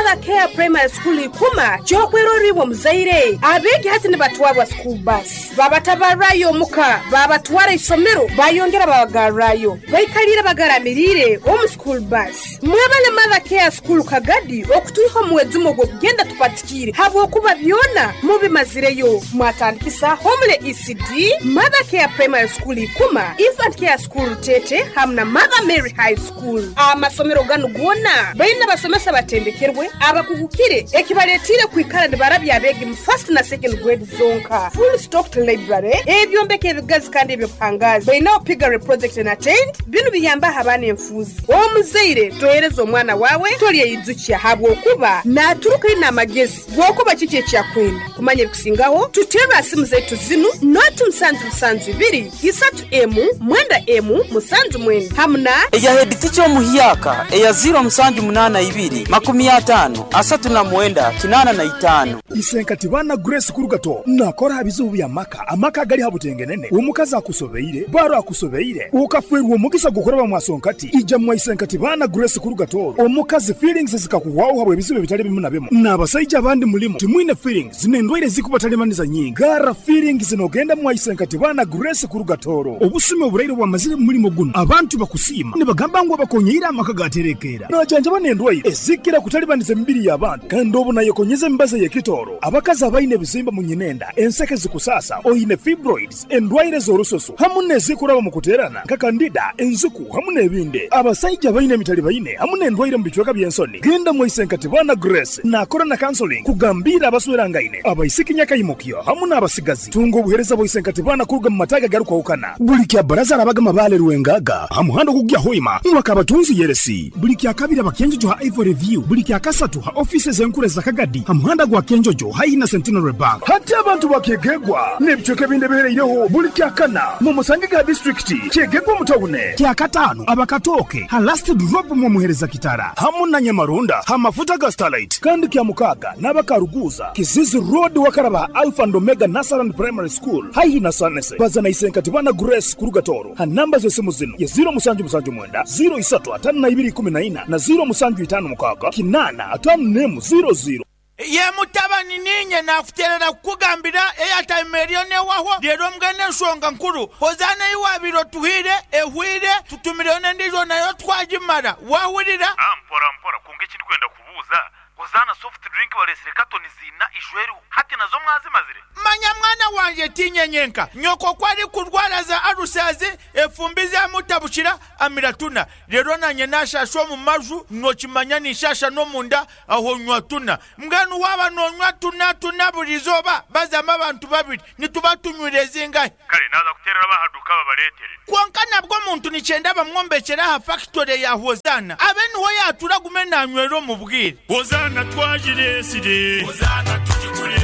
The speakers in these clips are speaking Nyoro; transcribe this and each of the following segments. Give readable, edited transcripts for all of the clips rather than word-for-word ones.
Mother Care Primary School Ikuma ky'okwerorra iwe omuzaire. Abeegi hati nibatwarwa school bus, babatabarrayo omuka, babatwara isomero, bayongera babagarrayo. Baikaliire bagaramiriire omu school bus. Mwebale Mother Care School Kagadi okutwiha omu mwejumo gw'okugenda tupatikiire habwokuba byona mubimazireyo. Mwatandikisa Homely ECD, Mother Care Primary School Ikuma, Infant Care School Rutete hamu na Mother Mary High School. Amasomero ganu goona baine abasomesa abatendekerwe, abakugukire ekibaletiire kwikara nibarabya abeegi mu first na second grade zonka. Full stocked library, ebyombeko ebigazi kandi eby'obuhangaazi. Bainaho piggery project and attained. Binu biyambaho abaana enfuuzi. Omuzaire tohereza omwana waawe tolyeyijukya habwokuba naaturuka aine amagezi g'okuba kiki eki akwenda. Kumanya ebikusingaho, tuterre ha simu zaitu zinu, noti musanju musanju ibiri, isatu emu, mwenda emu, musanju mwenda hamu na. Eya hediticha omuhyaka eya ziiro musanju munaana ibiri, makumi ataano, asatu na mwenda, kinaana na itaano. Isenkati baana Grace Kurugato nakora aha bizibu by'amaka, amaka agali ha butengenene, omukazi akusobeire, baro akusobeire, okafeerwa omugisa gw'okuraba mwasonkati, ija mwa Isenkati baana Grace Kurugato, omukazi feelings zikakuhwaho habw'ebizibu ebitali bimu na bimu, n'abasaija abandi mulimu timwine feelings n'endwaire ezikubatalibaniza nyingi, garra feelings n'ogenda mwa Isenkati baana Grace Kurugatoro. Obusumi oburaire obwamazire mu mulimo gunu, abantu bakusiima nibagamba ngu abakonyeire amaka gaterekeera. Najanjaba n'endwaire ezikira kutalibaniza emibiri y'abantu kandi obu nayekonyeza emibazi ey'ekitooro. Abakazi abaine ebizimba mu nyinenda, enseke zikusaasa, oine fibroids, endwaire z'orususu hamu n'ezikuraba mu kuteerana nka kandida, enziku hamu n'ebindi. Abasaija abaine emitalibaine hamu n'endwaire mu bicweka by'ensoni, genda mwa Isenkatibana Grace naakora na counseling kugambiira abaswerangaine, abaisiki nyakaimukyo hamu n'abasigazi. Tunga obuheereza bwa Isenkatibana kuruga mu mataagi agarukwahukana. Buli kya Baraza arabaga Mabaale Rwengaga ha muhanda ogukugya Hoima mwaka abatunzi Yeresi. Buli kya Kabiri aba Kyenjojo ha Ivory View. Buli kya Kasatu ha ofiisi ez'enkuru eza Kagadi ha muhanda gwa Kyenjojo haihi na Centenary Bank. Hati abantu ba Kyegegwa n'ebicweka ebindi ebihereireho buli kya Kana mumusange ga disiturikiti Kyegegwa omu tawune. Kya Kataano aba Katooke ha Last Drop mwomuhereza Kitara hamu na Nyamarunda ha mafuta ga Starlight. Kandi kya Mukaaga n'aba Karuguuza, Kizizi Road wakaraba ha Alpha and Omega Nursery and Primary School haihi na Sanese. Baza na Isenkatibana Grace kuruga Tooro ha namba z'esimu zinu ye ziiro musanju musanju mwenda, ziiro isatu ataano na ibiri ikumi na ina na ziiro musanju itaano mukaaga kinaana ataano n'emu ziiro ziiro. Ye mutabani, niinye naakuteerera kukugambira eyataima eriyo n'ewahwo. Reero mbwenu enshonga nkuru, Hozaana ei waabaire otuhaire ehweire, tutumireyo n'endiijo nayo twagimara. Waahurira? Mpora mpora, kwonka eki ndikwenda kubuuza, Hozaana soft drink bareetsire katoni ziina ijo eriho, hati nazo mwazimazire? Manya mwana wangye, tiinye nyenka. Nyoko ku arikurwara za alusazi, efumbi zaamutabukira, amira tuna. Reero naanye naashaasha omu maju, nookimanya ninshaasha n'omunda, aho nywa tuna. Mbwenu waaba noonywa tuna tuna buri izooba, bazamu abantu babiri, nituba tunywire zingahi? Kare naaza kuteerera ab'aha duuka babareetere. Kwonka nabwo omuntu nikyenda bamwombekyere aha fakitore ya Hozaana, abe niho yaatuura agume naanywera omu bwire. Hozaana twagireetsire. Hozaana tugigure.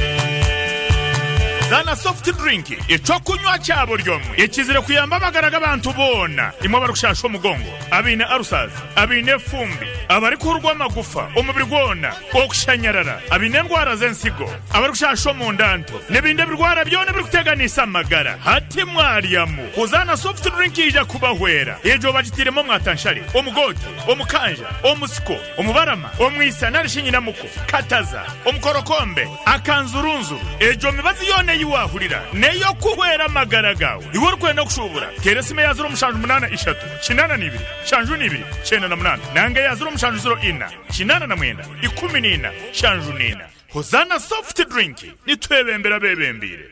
Hozaana soft drink, eky'okunywa kya buri omwe ekizire kuyamba amagara g'abantu boona. Imwe abarikushaasha omugongo, abaine ulcers, abaine efumbi, abarikuhurwa amagufa omubiri gwona, okushanyarara, abaine endwara z'ensigo, abarikushasha omunda nto, n'ebindi ebirwara byona ebirikuteganisa amagara. Hati mwaryamu Hozaana soft drink yaija kubahwera. Egyo bagitairemu omwatanshare, omugoote, omukanja, omusiko, omubarama, omwisa nari shi nyinamuko, kataza, omukorokombe, akanzurunzuru. Egyo mibazi yoona ei waahurira n'ey'okuhwera amagara gaawe. Iwe orikwenda kushuubura, teera esimu eya ziro mushanju munaana ishatu, kinaana na ibiri, nshanju na ibiri, kyenda na munaana nanga eya ziro mushanju ziro ina, 84, 14, 74. Hozaana Soft Drink, nitwebembera abeebembeire.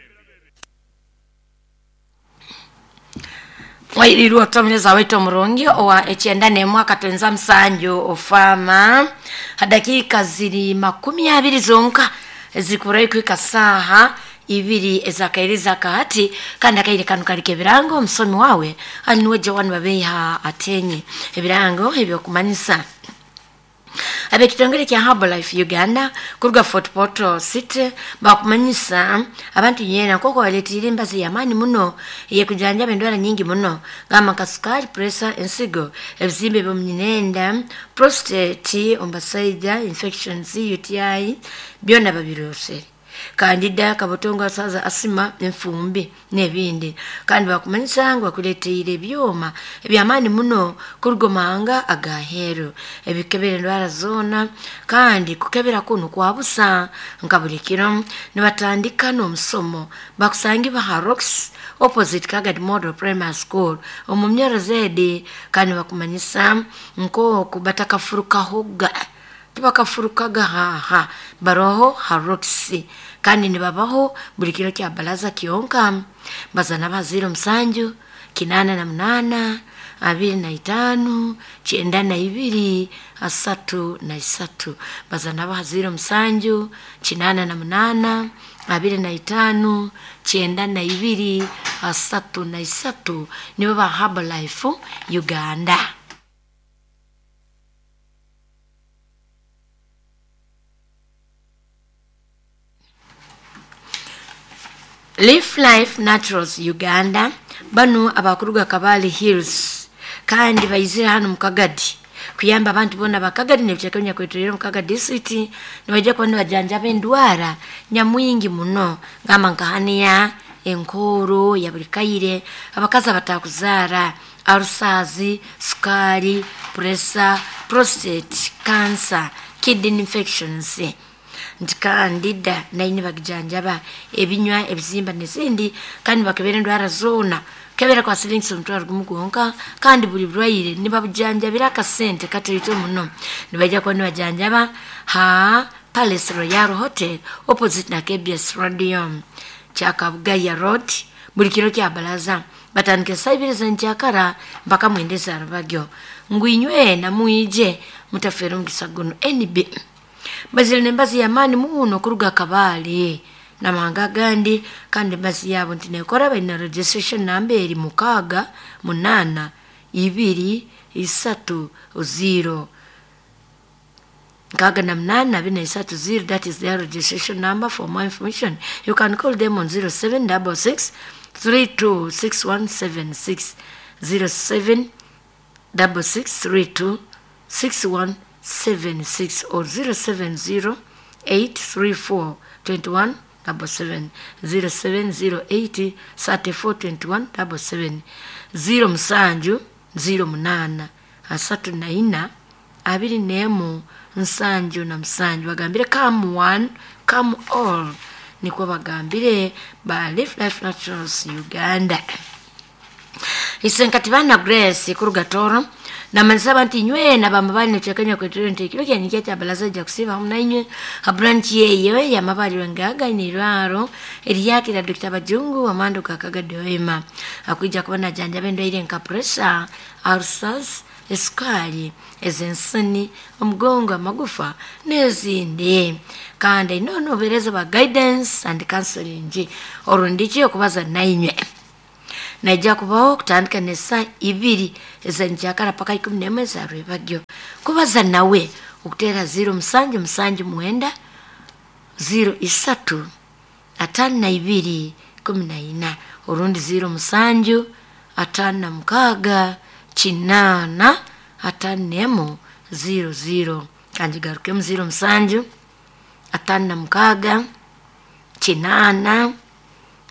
Wairirwe otomereza waitu omurungi owa ekyenda n'emwe akatwenza musanju ofaama ha dakiika ziri makumi abiri zonka ezikurayo kuhika saaha ibiri ezakairiza akahati kandi akaire kanu kali k'ebirango omusomi wawe ali niwe Joan Babeiha Atenyi. Ebirango ebyokumanyisa Ab'ekitongole kya Herbalife Uganda kuruga Fort Portal City bakumanyisa abantu nyena nk'oku baletiire embazi y'amaani muno ey'ekujanjaba endwara nyingi muno gamba nka sukari, pressure, ensigo, ebizimba eby'omunyinenda, prostate omu basaija, infections, UTI byona babirosere. Kandida kabotongo asaza asima enfumbi n'ebindi. Kandi bakumanyisa ngu bakuleteire ebyoma ebyamaani muno kuruga omahanga agaheeru ebikebera endwara zoona, kandi kukebera kunu kwabusa nka buli kiro nibatandika n'omusomo bakusangibwa ha Rocks opposite Kagadi Model Primary School omu myoro zedi. Kandi bakumanyisa nk'oku batakafurukahoga, tibakafurukaga haha baroho ha Rocks, kandi nibabaho buli kiro kya balaza kyonka. Bazana ba 07 88 25 92 33. Bazana ba 07 88 25 92 33 nibo ba Herbalife Uganda. Leaf Life Naturals Uganda banu abakuruga Kabale Hills, kandi baizire hano mukagadi kuyamba abantu bona bakagadi nebikyakenya kwetulira mukagadi district. Nibajja kuba nibajanjaba endwara nyamwingi muno ngamba nkahaniya, enkoro ya buli kaire, abakazi abatakuzaara, arusazi, sukari, pressure, prostate cancer, kidney infections nti kandida naine bagijanjaba ebinywa, ebizimba n'ezindi. Kandi bakebera endwara zoona kebera kwa silingi 10,000 gwonka, kandi buli bulwaire nibabujanjabira akasente katoito muno. Nibajja kuba nibajanjaba ha Palace Royal Hotel opposite na KBS Radio Kyakabugaya Road buli kiro kya balaza batandika saa ibiri z'enkyakara mpaka mwenda ezarubagyo. Ngwinywe namwije mutafere omugisa guno. NB bazire nembazi yamaani muno kuruga Kabale namahanga agandi, kandi embazi yaabo nti nekora baina registration namba eri 6 8 2 3 0 6 8 2 3 0. That is their registration number. For more information you can call them on 0766 32 6176, 07 66 32 6176 or 070 834 21 77, 0708 34 21 77, 07 08 34 21 77. Bagambire come one come all, nikwo bagambire ba Leaf Life Naturals Uganda. Isenkati bana Grace kuruga Toro namanyisa nti inywe nabamabali nekyakanya kwetero nti ekiro kyanyikya kya balaza ajja kusiiba hamu nainywe ha branch yeyo yamabali wengaga inirwaro eriyakira Dr. Bajungu amando kakagadde wema akwijja kuba najanjaba endwaire nka pressure, ulcers, esukali, ez'ensoni, omugongo, amagufa n'ezindi. Kandi nono obuheereza bwa guidance and counseling orundiki okubaza nainywe naija kubaho kutandika n'esaa 2 ez'enkyakara paka 11 ezarwebagyo. Kubaza nawe okuteera 07 7 9 03 52 14 orundi 07 56 8 51 00. Kandi garukemu 07 56 8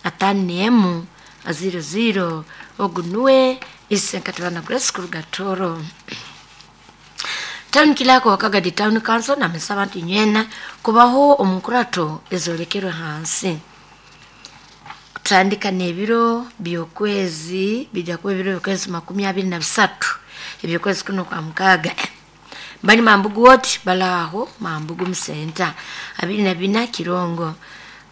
51 00. Ogunwe isenkatibana Grace kuruga Toro. Town kilako Wakagadi Town Council namesaba nti nywena kubaho omukurato ezolekerwe hansi kutandika n'ebiro by'okwezi bijja kuba ebiro by'okwezi 23 ebyokwezi kuno kwa mukaaga. Bali Mambugu woti balaho Mambugu musenta 24 Kirongo.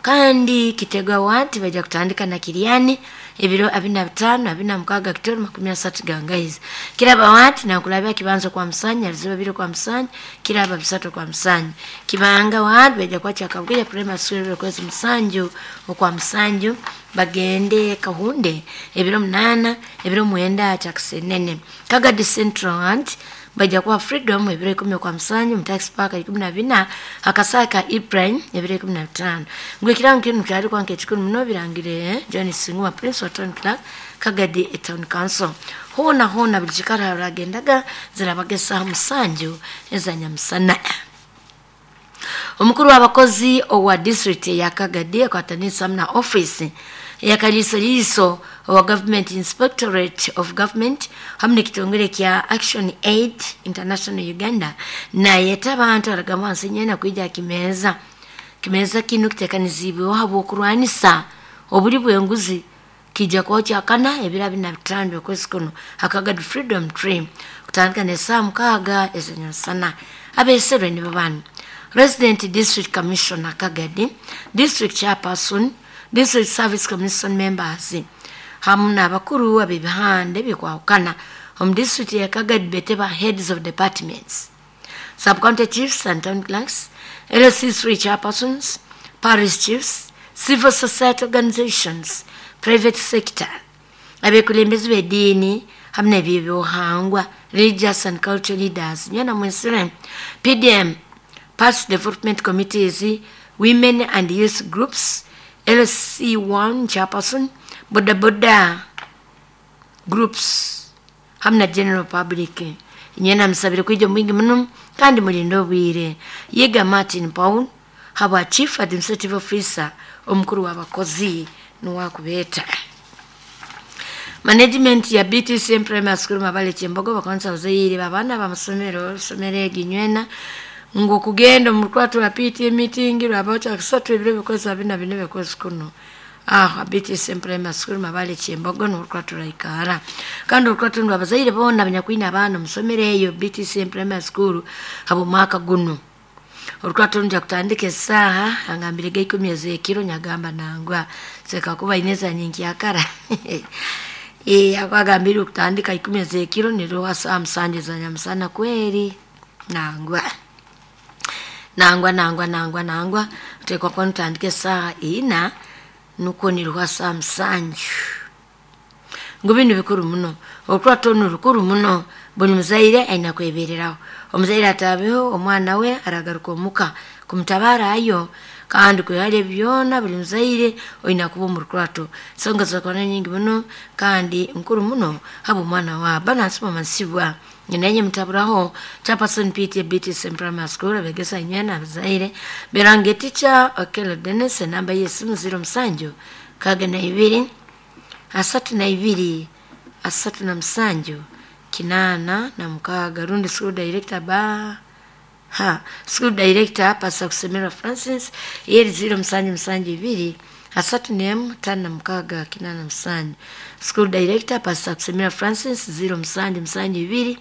Kandi Kitega wati bajja kutandika na Kiriani ebiro 25 26 Kitoro 30 Gangaizi. Kiraba wati nakulabya kibanzo kwa Msanya liziba biro kwa Msanya kiraba bisato kwa Msanya. Kibanga wati bajja kwacha Kabugeja Primary School kwezi Msanju okwa Msanju bagende Kahunde ebiro 8 ebiro 9 Chakisenene. Kagadi Central wati bajja kuwa Freedom ebiro 10 kwa Msanyu Mtax Park 14 Akasaka Ibrahim ebiro 15. Ngwe kirango kinu kyali kwa nkekikuru muno birangire John Singwa Prince wa Town Clerk Kagadi Town Council. Hona hona buli kikara ragendaga zirabagesa Musanju ezanyamusana. Omukuru w'abakozi owa district ya Kagadi akwatanisa na office ya Kaliisoliiso owa Government Inspectorate of Government hamu n'ekitongole kya Action Aid International Uganda nayeta abantu aragamba wansi nyena kwija kimeza. Kimeza kinu kitekanizibweho habw'okurwanisa obuli bw'enguzi kijja kuba kyakana ebiro 25 okwezi kuno akagadi Freedom Tree kutandika n'essaaha 6 ez'enyamusana. Abeeserwe nibo bano: Resident District Commissioner Kagadi, District Chairperson, District Service Commission members hamu n'abakuru ab'ebihanda ebikwahukana omu district ya Kagadi beteba heads of departments, sub-county chiefs and town clerks, LC3 chairpersons, parish chiefs, civil society organizations, private sector, abekulembezi b'eddiini hamu n'ebyobuhangwa, religious and cultural leaders, nyana mwesire, PDM, past development committees, women and youth groups, LC1 chairperson, boda boda groups hamu na general public. Nyena musabire kwija mwingi muno kandi mulinde obwire. Yiga Martin Paul habwa Chief Administrative Officer omukuru w'abakozi nuwakubeeta. Management ya BTCM Primary School Mabale Kyembogo bakonsa ozaire babaana bamasomero somero eginywena ngu kugenda mu rukwato rwa PTA meeting rwaba kusatu ebiro bikozi 24 bikozi kuno. BTCM Primary School Mabale Kyembogo n'orukwato rwaikara kandi orukwato rwa abazaire boona abanyakwine abaana omusomero eyo BTCM Primary School abo mwaka guno. Orukwato nja kutandika esaaha angambire ga 10 ez'ekiro nyagamba nangwa seka kuba ineza nyingi yakara. Akwagambire kutandika 10 ez'ekiro niruha saa 7 za nyamusana kweri nangwa. Nangwa nangwa nangwa nangwa utekwa kwa nutandike saa 4 nuko niruha saa 7. Ngo bino bikuru muno orukwato nurukuru muno buli muzaire aina kwebereraho. Omuzaire atabeho omwana we aragaruka omuka kumutabara ayo kandi kwehale byona buli muzaire oina kuba omu rukwato. Songa zakona nyingi muno kandi nkuru muno habo omwana wa bana nsibwa nyenye mtaburaho chairperson PTA BTCM Primary School abegesa nyana abazaire berange teacher Okello Dennis namba yesimu 07 62 32 37 86 rundi school director ba ha school director Pastor Kusemera Francis yeri 0772 31 56 87. School director Pastor Kusemera Francis 0772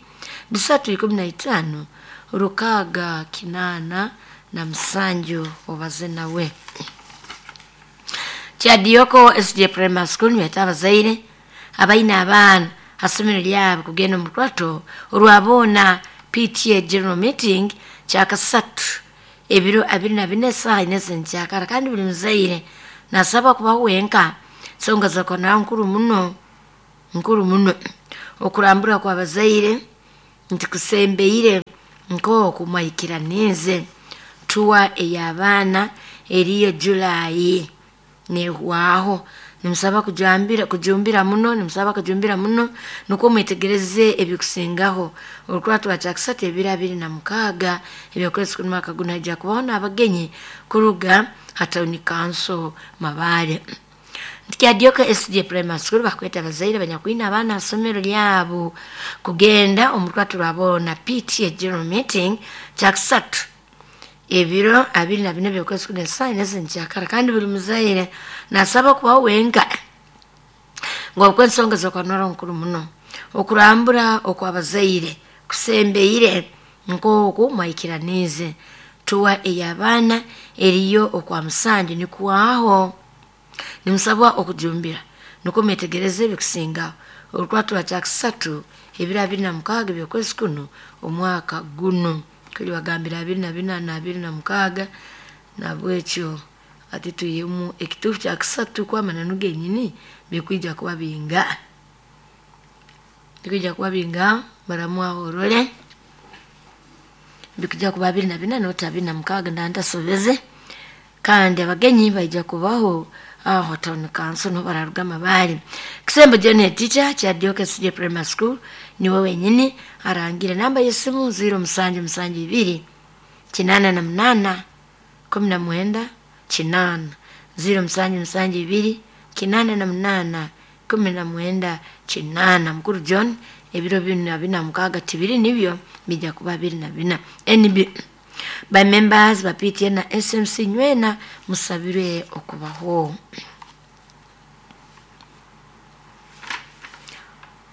315 6 87 obaze nawe. Kyadioko SJ Primary School nweta abazaire abaina abaana hasomero lyabo kugenda mu rukwato olwabona PTA General Meeting kyakasatu ebiro 24 saa 4 zenkyakara kandi buli muzaire nasaba kubaho wenka songa zakona nkuru muno nkuru muno okurambura kwa bazaire nti kusembeire nko kumwikiranize tuwa ey'abaana eriyo July nehwaho. Nimusaba kujumbira muno nimusaba kujumbira muno nuko mwetegereze ebikusingaho. Orukwato rwa kyakasatu ebiro 26 ebyokwezi kuno mwaka guno hajja kubaho n'abagenyi kuruga ha town council Mabale. Kyadioka SJ Primary School bakweta abazaire abanyakwine abaana asomero lyabo kugenda omu rukwato rwabona PTA General Meeting kyakasatu ebiro 24 byokwezi kuno saa 4 zenkyakara kandi buli muzaire nasaba kubaho wenka ngo okwensonga zokanora nkuru muno okurambura okwabazaire kusembeire nkoku mwikiranize tuwa ey'abaana eriyo okwa musandi nikuwaho. Nimusabwa okujumbira nuko mwetegereze ebikusingaho. Orukwato rwa kyakasatu ebiro 26 byokwezi kuno omwaka guno kuli bagambira 24 na 26 nabwekyo ati tuyemu ekitufu kyakasatu kwamananu genyini bikwija kuba binga bikwija kuba binga baramwaho orole bikujja kuba 24 nota 26 ndantasobeze kandi abagenyi baija kubaho aho town council no bararuga Mabale. Kisembo John teacher Kyadioka SJ Primary School niwe wenyini arangire namba yesimu 0772 88 19 8 0772 88 19 8. Mukuru John ebiro 46 tibiri nibyo bijja kuba 24. NB by members ba PTA na SMC nywena musabirwe okubaho.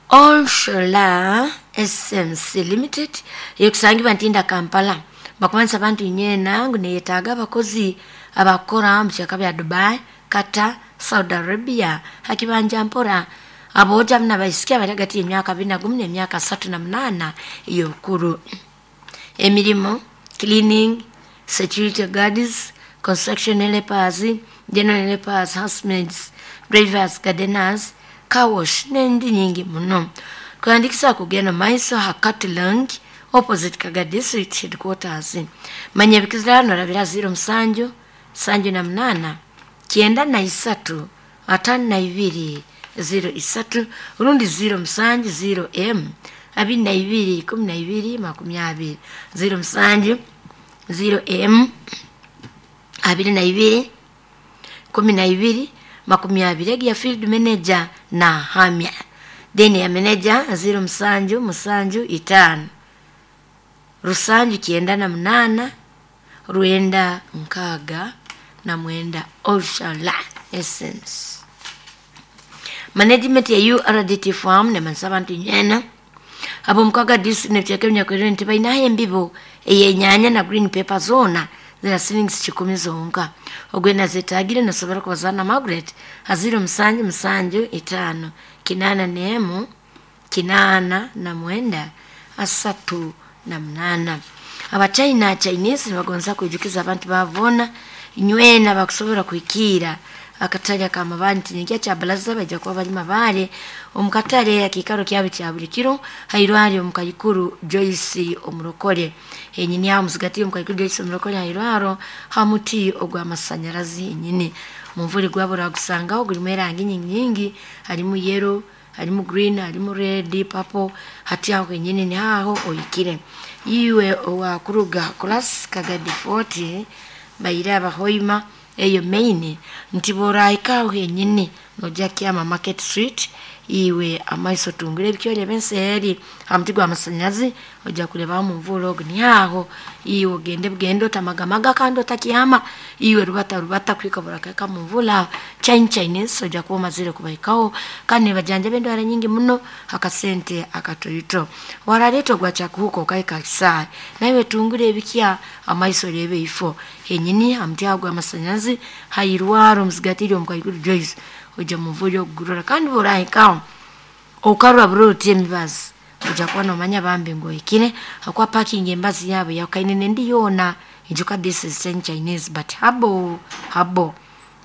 Olshola SMC Limited yekusangibwa Ntinda Kampala bakumanisa abantu nyena ngu neyetaaga abakozi abakora mu byaka bya Dubai, Qatar, Saudi Arabia hakibanja mpora aboja muna baisikia bali hagati y'emyaka 21 n'emyaka 38 ey'obukuru. Emirimu cleaning, security guards, construction helpers, general helpers, housemaids, drivers, gardeners, car wash n'endi nyingi muno. Kuandikisa kugenda maiso hakatilang opposite Kaga District Headquarters. Manya bikizirano rabira 07 78 93 52 03 rundi 07 0 M 22 12 20 07 0 M 22 12 20 ya field manager na hamya deni ya manager 0 7 7 5 rusanju 98 rwenda nkaga na mwenda. Oshala Essence management ya URDT farm ne mansaba nti nyena abo mukaga district ne kyeke nyakwere nti balina embibo eyenyanya na green paper zona zira silingi 10 zonka ogwena zetagire nasobora kubazana Margaret aziro 7 7 5 8 8 9 3 8. Abachina Chinese bagonza kwijukiza abantu babona nywena bakusobora kuikira akatale ka mabanti nyikia cha balaza bajja kuba bali mabale omukatale akikaro kyabe kya buli kiro hairwari omukayikuru Joyce omurokole enyini aho muzigati omukayikuru Joyce omurokole hairwaro hamuti ogwa masanyarazi enyini mumvuri gwabura gusangaho gurimu erangi nyingi harimu yellow, harimu green, harimu red, purple. Hati aho enyini ni aho oyikire iwe owakuruga class Kagadi 40 bayira abahoima eyo main nti boraika henyini nojja kyama Market Street iwe amaiso tungire ebikyole benseeri hamuti gwa masanyazi ojja kuleba mu mvula ogu ni aho iwe ogende bugende otamagamaga kandi otakyama iwe rubata rubata kwikabura kaka mu mvula Chinese ojja kuba omazire kubaikaho kandi bajanja b'endwara nyingi muno akasente akatoito waraleeta ogwa kyakuhuka okaika kisaayi naiwe tungire ebikya amaiso orebe ifo henyini hamuti ago amasanyazi hairwaro omuzigatiri omukaikuru Joyce ojja muvuli okugurora kandi borahikaho okarura buroti emibazi ojja kuba nomanya bambi ngoikire hakwa parking embazi yabo yakaine nendi yona ijuka this is Chinese but habo habo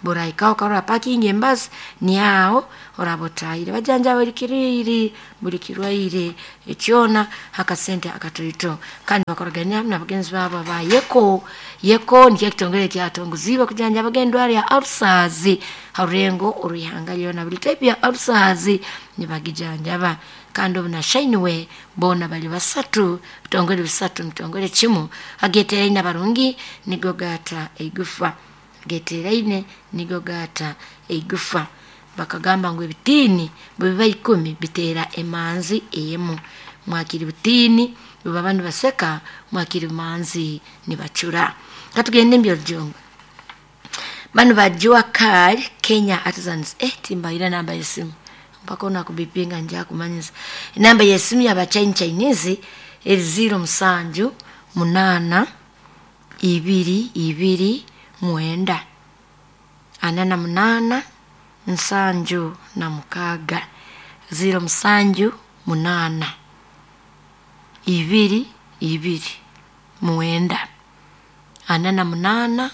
borahikaho okarura parking embazi ni aho orabotahire bajanja buli kiriri buli kirwaire ekyona akasente akatoito kandi bakoragania na bagenzi babo ba yeko yeko nikyo kitongere kyatonguziba kujanja bagendwara ya ulcers harurengo oruhanga lyona buli type ya ulcers nibagijanjaba kandi obuna Shineway bona bali basatu bitongole bisatu mutongole kimu ageteraine abarungi nigo gata eigufa ageteraine nigo gata eigufa bakagamba ngu ebitini bwe biba 10 bitera emanzi emu mwakiri butini bwe bantu baseka mwakiri manzi nibacura. Katugende mbyo bano bajua kali Kenya Artisans timbaira namba yesimu mpaka ona kubipinga nja kumanyisa namba yesimu ya bachain Chinese 07 8 2 2 9 48 76 07 8 2 2 9 48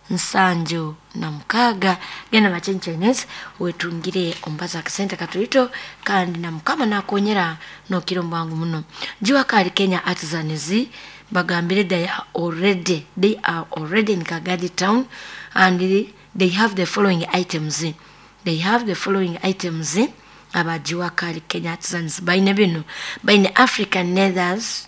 76 genda bachain Chinese wetungire ombaza akasente katuito kandi na mukama nakonyera nokiro mbangu muno. Jua kali Kenya Artisans bagambire they are already in Kagadi town and they have the following items. They have the following items abajua kali Kenya Artisans baine bino baine African leathers,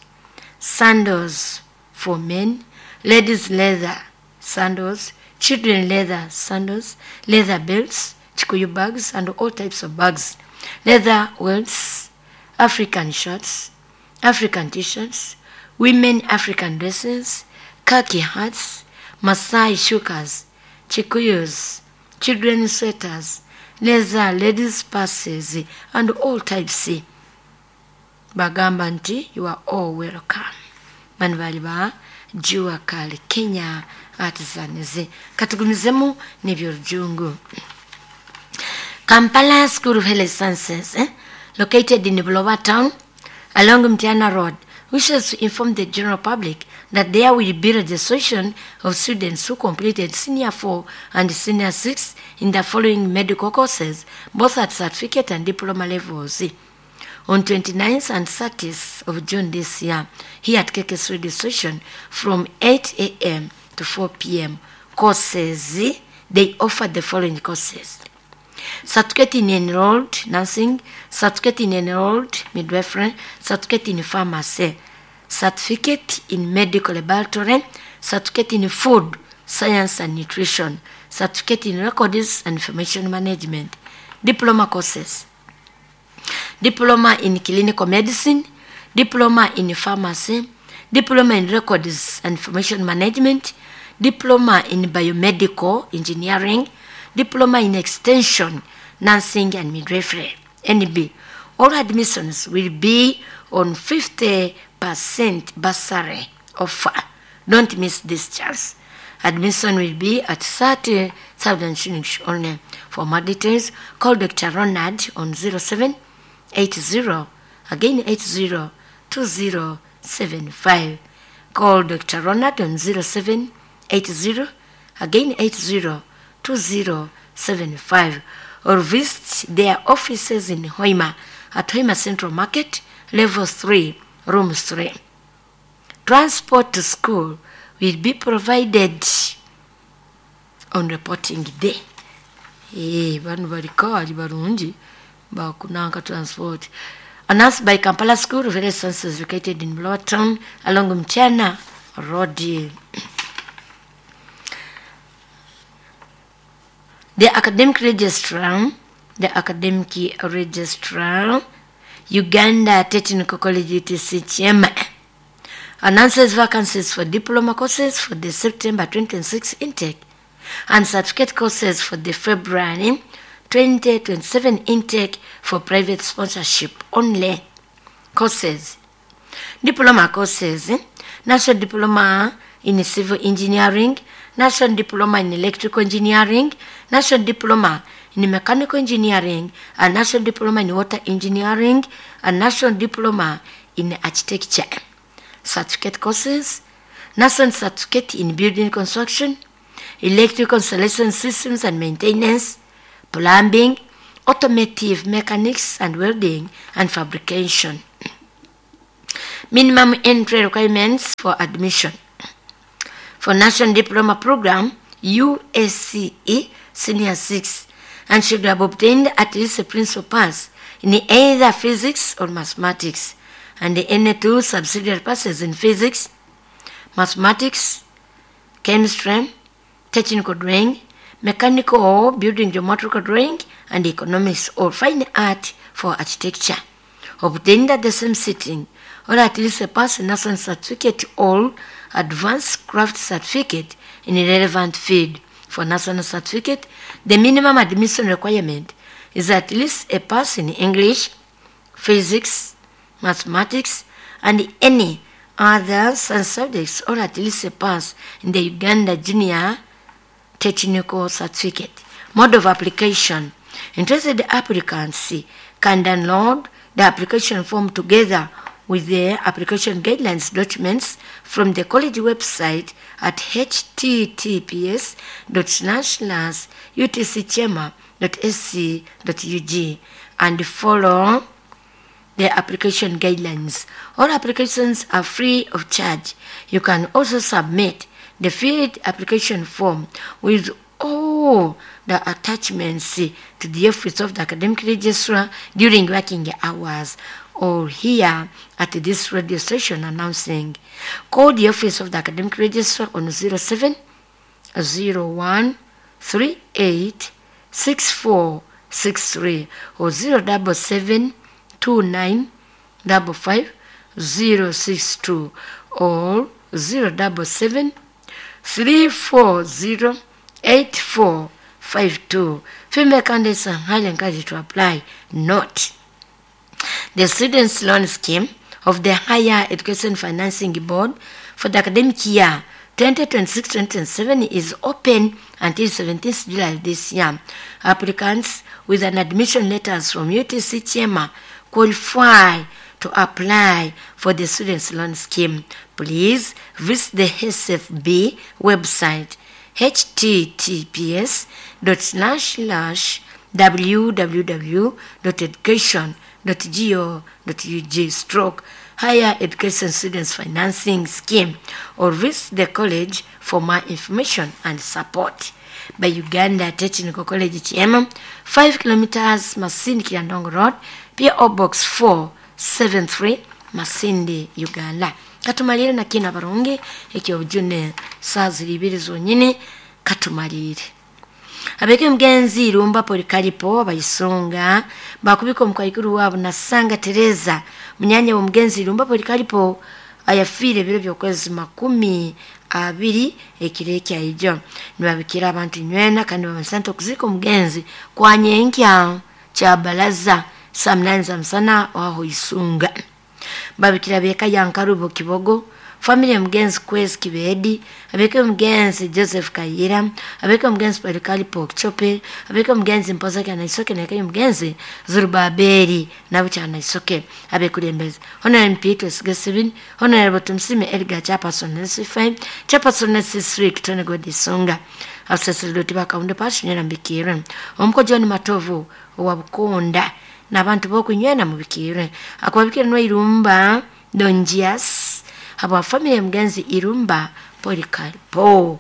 sandals for men, ladies leather sandals, children leather sandals, leather belts, Kikuyu bags, and all types of bags, leather welts, African shirts, African t-shirts, women African dresses, khaki hats, Masai shukas, Kikuyus, children's sweaters, leather ladies purses, and all types. Bagamba nti you are all welcome. Bano bali ba Jua Kali Kenya Artisans. Katugumizemu n'ebyorujungu. Kampala School of Health Sciences, located in Buloba Town, along Mtiana Road, wishes to inform the general public that there will be registration of students who completed Senior 4 and Senior 6 in the following medical courses, both at certificate and diploma levels. On 29th and 30th of June this year, here at KKS Radio Station from 8 a.m. to 4 p.m. Courses, they offer the following courses: Certificate in Enrolled Nursing, Certificate in Enrolled Midwifery, Certificate in Pharmacy, Certificate in Medical Laboratory, Certificate in Food Science and Nutrition, Certificate in Records and Information Management. Diploma courses: Diploma in Clinical Medicine, Diploma in Pharmacy, Diploma in Records and Information Management, Diploma in Biomedical Engineering, Diploma in Extension, Nursing and Midwifery, NB. All admissions will be on 50% bursary offer. Don't miss this chance. Admission will be at 30,000 shillings only. For more details, call Dr. Ronald on 0780, again 80 2075. Call Dr. Ronald on 0780, again 80 2075, or visit their offices in Hoima at Hoima Central Market, Level 3, Room 3. Transport to school will be provided on reporting day. Bano balikali barungi bakunanka transport. Announced by Kampala School of Health Sciences, located in Lower Town along Mtiana Road. The academic registrar, Uganda Technical College UTC Kyema, announces vacancies for diploma courses for the September 2026 intake and certificate courses for the February 2027 intake for private sponsorship only. Courses: Diploma courses, National Diploma in Civil Engineering, National Diploma in Electrical Engineering, National Diploma in Mechanical Engineering, and National Diploma in Water Engineering, and National Diploma in Architecture. Certificate courses: National Certificate in Building Construction, Electrical Installation Systems and Maintenance, Plumbing, Automotive Mechanics and Welding and Fabrication. Minimum entry requirements for admission. For National Diploma Program, UACE Senior 6, and should have obtained at least a principal pass in either physics or mathematics, and the any two subsidiary passes in physics, mathematics, chemistry, technical drawing, mechanical or building geometrical drawing, and economics or fine art for architecture, obtained at the same sitting, or at least a pass national certificate or advanced craft certificate in a relevant field. For national certificate, the minimum admission requirement is at least a pass in English, physics, mathematics, and any other science subjects, or at least a pass in the Uganda Junior Technical Certificate. Mode of application: interested applicants can download the application form together with the application guidelines documents from the college website at https://utcchema.sc.ug and follow the application guidelines. All applications are free of charge. You can also submit the filled application form with all the attachments to the office of the academic registrar during working hours, or here at this radio station announcing. Call the office of the academic registrar on 07 01 38 64 63 or 077 29 55 062 or 077 340 8452. Female candidates are highly encouraged to apply. Note, the Students' Loan Scheme of the Higher Education Financing Board for the academic year 2026-2027 is open until 17th July this year. Applicants with an admission letters from UTC Chema qualify to apply for the Students' Loan Scheme. Please visit the SFB website https dot slash slash www dot education dot go dot ug stroke higher education students financing scheme or visit the college for more information and support. By Uganda Technical College Chiema, 5 kilometers Masindi Kiandongo Road, PO Box 473 Masindi, Uganda. Katumalire na kino abarungi ekyobujune saa ziri ibiri zonyine katumalire. Abeke mgenzi Irumba Polikaripo bayisunga bakubika omukaikuru wabo Nasanga Tereza munyanya wa mugenzi Irumba Polikaripo ayafire biro by'okwezi 20 ekiro ekyaijo. Nibabikira abantu nywena kandi babasanta okuzika omugenzi kwa nyenkya kya balaza saa 8 za msana waho isunga. Babikira beka yankarubo Kibogo, family ya mgenzi Kwezi Kibedi, abeke mgenzi Joseph Kayira, abeke mgenzi Polikaripo Chope, abeke mgenzi Mpoza Kyanaisoke na abeke mgenzi Zurubabeli nabo Kyanaisoke abekulembeze. Honorable MP Twesige Steven, Honorable Tumsime Edgar Chairperson NC5, Chairperson NC3 Kitone Godisunga. Abasaserdooti bakawunde pashinera mbikirwe. Omuko John Matovu owa Bukonda n'abantu b'okunywena mubikirwe. Akubabikira no Irumba Donjias habwa family ya mgenzi Irumba Polikaripo.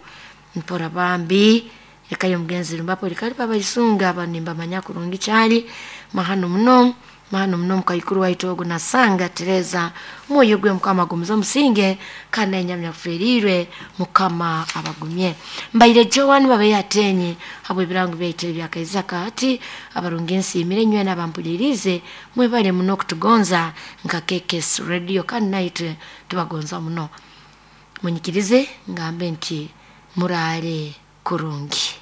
Mpora bambi eka mgenzi Irumba Polikaripo abayisunga abanimba manya kurungi kyali mahano muno mahano muno mukaikuru waitu ogu Nasanga Tereza mwoyo gwe mukama gumuza musinge kandi enyamya kuferirwe mukama abagumye. Mbaire Joan babe yatenye habwe ebirango byaitu ebyakaiza kati abarungi nsiimire nywe n'abampulirize mwebale muno kutugonza nka KKS Radio kandi naitwe tubagonza muno. Munyikirize ngambe nti murare kurungi.